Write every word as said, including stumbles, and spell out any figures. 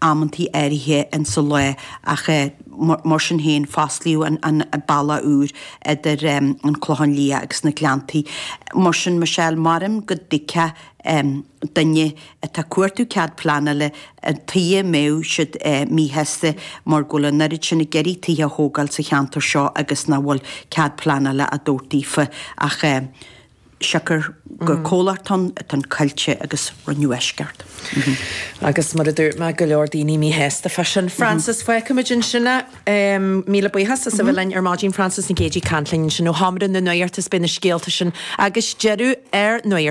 Amantaí áirithe insa lá ach mar sin féin fosclaíodh an an bealach úr idir an Clochán Liath agus na Gleanntaí. Mar sin Michelle, maram go dtuigfeadh duine atá ag cuartú cead pleanála an tuighe a mbeadh siad míshásta mar go bhfuil an oiread sin ag iarraidh tithe a thógáil sa cheantar seo agus nach bhfuil cead pleanála á dtabhairt daofa ach siocair gur comhlacht ann atá an Coillte agus rinneadh eisceacht. Agus mar a dúirt mé go leor daoine míshásta fá sin. Frances fágfaimid ansin é míle buíochas as a bheith linn ar maidin Frances Nic Géadaigh ag caint linn ansin ó Sheomra na Nuachta is beidh na scéalta sin agus deireadh ar nuacht.